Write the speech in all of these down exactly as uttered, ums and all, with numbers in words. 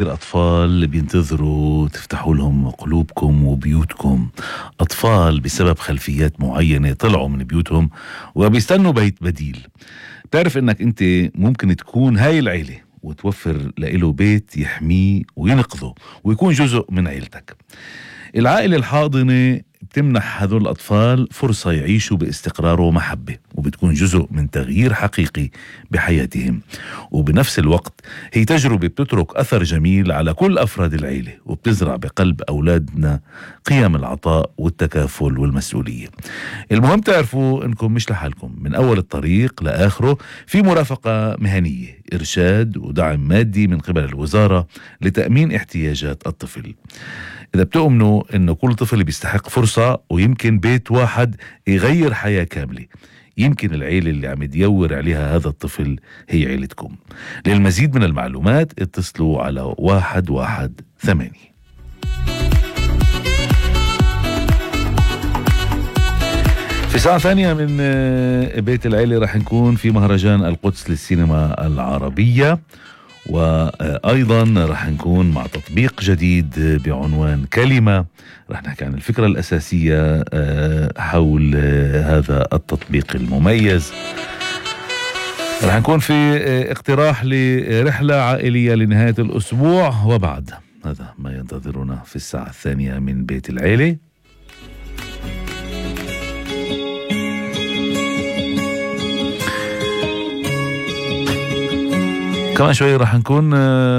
الأطفال بينتظروا تفتحوا لهم قلوبكم وبيوتكم، أطفال بسبب خلفيات معينة طلعوا من بيوتهم وبيستنوا بيت بديل. تعرف إنك أنت ممكن تكون هاي العيلة وتوفر لإله بيت يحميه وينقذه ويكون جزء من عيلتك. العائلة الحاضنة بتمنح هذول الأطفال فرصة يعيشوا باستقرار ومحبة، وبتكون جزء من تغيير حقيقي بحياتهم، وبنفس الوقت هي تجربة بتترك أثر جميل على كل أفراد العيلة، وبتزرع بقلب أولادنا قيم العطاء والتكافل والمسؤولية. المهم تعرفوا إنكم مش لحالكم، من أول الطريق لآخره في مرافقة مهنية، إرشاد ودعم مادي من قبل الوزارة لتأمين احتياجات الطفل. إذا بتؤمنوا إنه كل طفل بيستحق فرصة ويمكن بيت واحد يغير حياة كاملة، يمكن العيلة اللي عم يدور عليها هذا الطفل هي عيلتكم. للمزيد من المعلومات اتصلوا على واحد واحد ثمانية. في ساعة ثانية من بيت العيلة رح نكون في مهرجان القدس للسينما العربية، وأيضا رح نكون مع تطبيق جديد بعنوان كلمة. رح نحكي عن الفكرة الأساسية حول هذا التطبيق المميز. رح نكون في اقتراح لرحلة عائلية لنهاية الأسبوع، وبعد هذا ما ينتظرنا في الساعة الثانية من بيت العيلة. كمان شوي رح نكون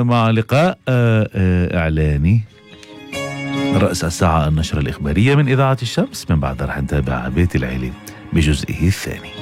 مع لقاء إعلاني رأس الساعة النشرة الإخبارية من إذاعة الشمس. من بعد رح نتابع بيت العيلة بجزئه الثاني.